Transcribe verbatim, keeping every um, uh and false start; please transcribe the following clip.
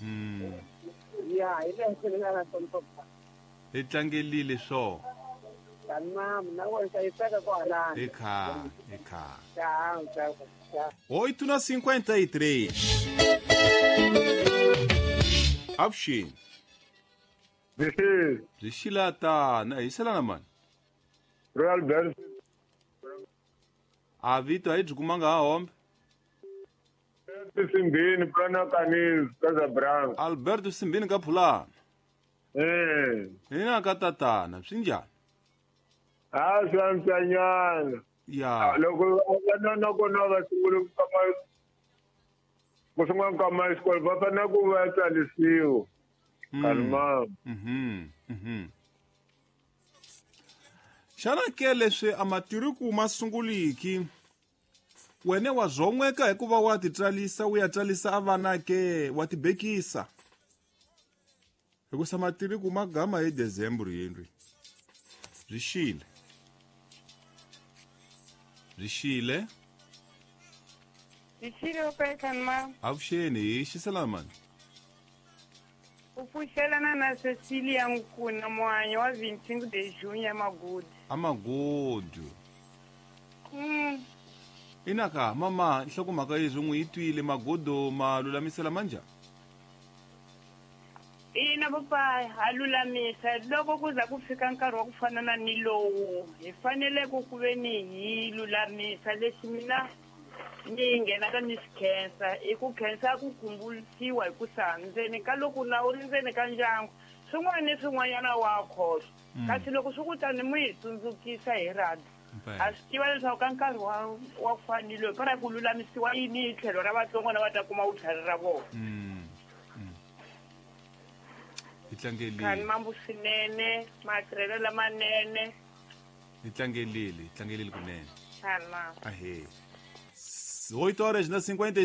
Mhm. Ya, hi leswi ni nga na swona papa. Hi tlangelile swo. Tamam, na wena hlayiseka kwalano. Eka, eka. Tchau, tchau, tchau. oito na cinquenta e três. Avuxeni. Bixi, Byi xilatana, hi xelana mani. Royal Bells. A vito a hi byi kumanga ha hombe. Simbini plana kanis Casablanca. Alberto Simbini ka Phulana. Eh. Hina ka tatana, swi njhani? Ah, swi antswanyana. Ya. Loko vana na kona va sungule ku kama ku sungula ku kama xikolo va fanele ku va tsarisiwa. Kalma. Mhm. Mhm. Xana ke leswi a matiriku ma sunguliki wene wa zon'weka hikuva wa ti tsarisa u ya tsarisa a vana ke wa ti bekisa hikusa matiriku ma gama hi December yendlwi byi xile byi xile Byi xile papa ma avuxeni hi xiselana mani u pfuxelana na Cecilia Nkuna muhanyi wa vinte e cinco de junho Amagudu. Amagudu. Mm. Inaka mama nhlokomhaka yezwi n'wi yi twile magudu ma lulamisela manjhani? Ina papa ha lulamisa loko ku za ku fika nkarhi wa ku fana na ni lowu hi fanele ku ku ve ni hi lulamisa lexi mina ni nghenaka ni swi khensa i ku khensa ku khumbulisiwa hi ku sa ndzeni ka loko na u ri ndzeni ka ndyangu swin'wana ni swin'wanyana wa khohlwa kasi loko swi ku tani mi hi tsundzukisa hi radio a swi tiva leswaku ka nkarhi wa wa ku fana ni loyi para ku lulamisiwa yini hi tlhelo ra vatsongo na va ta kuma vutlhari ra vona. Hi tlangelile. Khani mambu swinene matirhelo lamanene. Hi tlangelile, hi tlangelile kunene. Khani mambu. Ahee. oito horas na cinquenta e